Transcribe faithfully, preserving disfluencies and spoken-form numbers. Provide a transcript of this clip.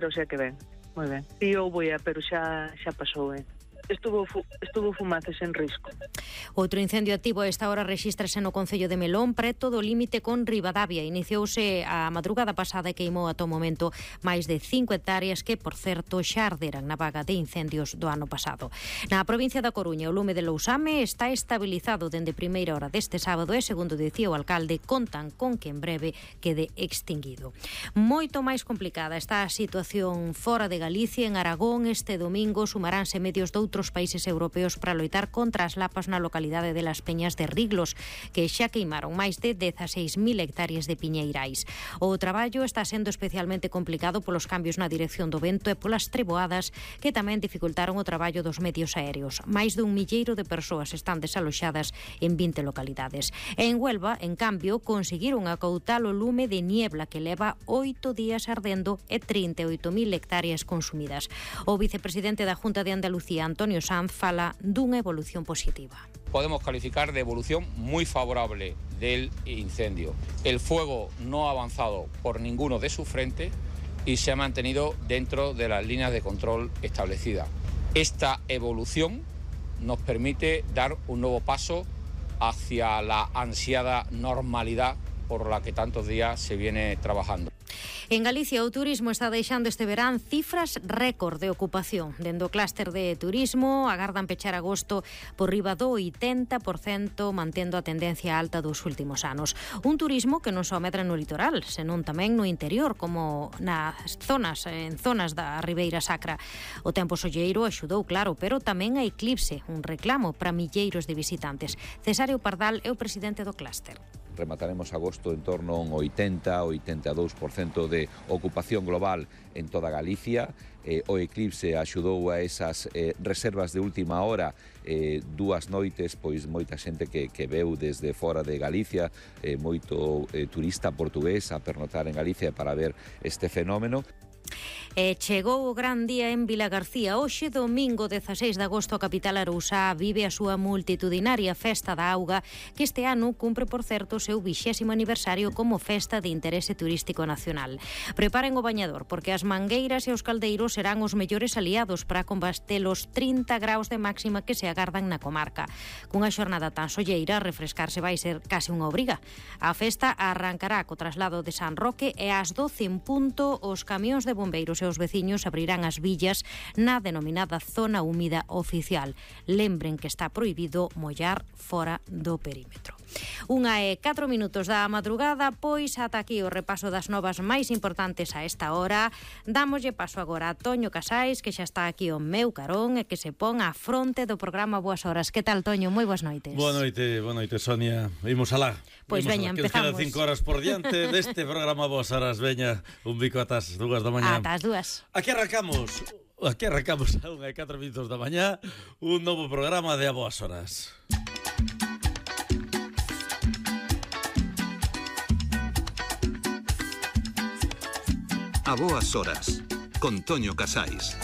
pero xa que ben, moi ben. E houbo ia, pero xa, xa pasou, eh. Estuvo, fu, estuvo fumaces en risco. Outro incendio activo a esta hora rexístrase no concello de Melón, preto do límite con Ribadavia. Iniciouse a madrugada pasada e queimou ata o momento máis de cinco hectáreas que, por certo, xa arderan na vaga de incendios do ano pasado. Na provincia da Coruña, o lume de Lousame está estabilizado dende primeira hora deste sábado e, segundo dicía o alcalde, contan con que en breve quede extinguido. Moito máis complicada está a situación fora de Galicia. En Aragón este domingo sumaránse medios doutros países europeos para loitar contra as lapas na localidade de Las Peñas de Riglos, que xa queimaron máis de dezaseis mil hectáreas de piñeirais. O traballo está sendo especialmente complicado polos cambios na dirección do vento e polas treboadas que tamén dificultaron o traballo dos medios aéreos. Máis dun milleiro de persoas están desaloxadas en vinte localidades. E en Huelva, en cambio, conseguiron acoutar o lume de niebla que leva oito días ardendo e trinta e oito mil hectáreas consumidas. O vicepresidente da Junta de Andalucía, Antonio Sanz, fala dunha evolución positiva. Podemos calificar de evolución muy favorable del incendio. El fuego no ha avanzado por ninguno de sus frentes y se ha mantenido dentro de las líneas de control establecidas. Esta evolución nos permite dar un nuevo paso hacia la ansiada normalidad por la que tantos días se viene trabajando. En Galicia o turismo está deixando este verán cifras récord de ocupación. Dende o clúster de turismo agardan pechar agosto por riba do oitenta por cento, mantendo a tendencia alta dos últimos anos. Un turismo que non só medra no litoral, senón tamén no interior, como nas zonas, en zonas da Ribeira Sacra. O tempo solleiro axudou, claro, pero tamén a eclipse, un reclamo para milleiros de visitantes. Cesario Pardal é o presidente do clúster. Remataremos agosto en torno a un oitenta a oitenta e dous por cento de ocupación global en toda Galicia. Eh, o eclipse axudou a esas eh, reservas de última hora, eh, dúas noites, pois moita xente que, que veu desde fora de Galicia, eh, moito eh, turista portugués a pernotar en Galicia para ver este fenómeno. E chegou o gran día en Vilagarcía. Hoxe, domingo dezaseis de agosto, a capital arousá vive a súa multitudinaria Festa da Auga, que este ano cumpre, por certo, o seu vixésimo aniversario como festa de interese turístico nacional. Preparen o bañador, porque as mangueiras e os caldeiros serán os mellores aliados para combater os trinta graus de máxima que se agardan na comarca. Cunha xornada tan solleira, refrescarse vai ser case unha obriga. A festa arrancará co traslado de San Roque e ás doce en punto os camións de bombeiros e os veciños abrirán as villas na denominada zona húmida oficial. Lembren que está prohibido mollar fora do perímetro. Unha e catro minutos da madrugada, pois ata aquí o repaso das novas máis importantes a esta hora. Dámoslle paso agora a Toño Casais, que xa está aquí o meu carón e que se pon á fronte do programa Boas Horas. Que tal, Toño? Moi boas noites. Boa noite, boa noite, Sonia. Imos alá. Pois veña, empezamos. Que nos quedan cinco horas por diante deste programa Boas Horas. Veña, un bico atas dúas da mañá. Atas dúas. Aquí arrancamos. Aquí arrancamos a unha e catro minutos da mañá un novo programa de A Boas Horas. A Boas Horas, con Toño Casais.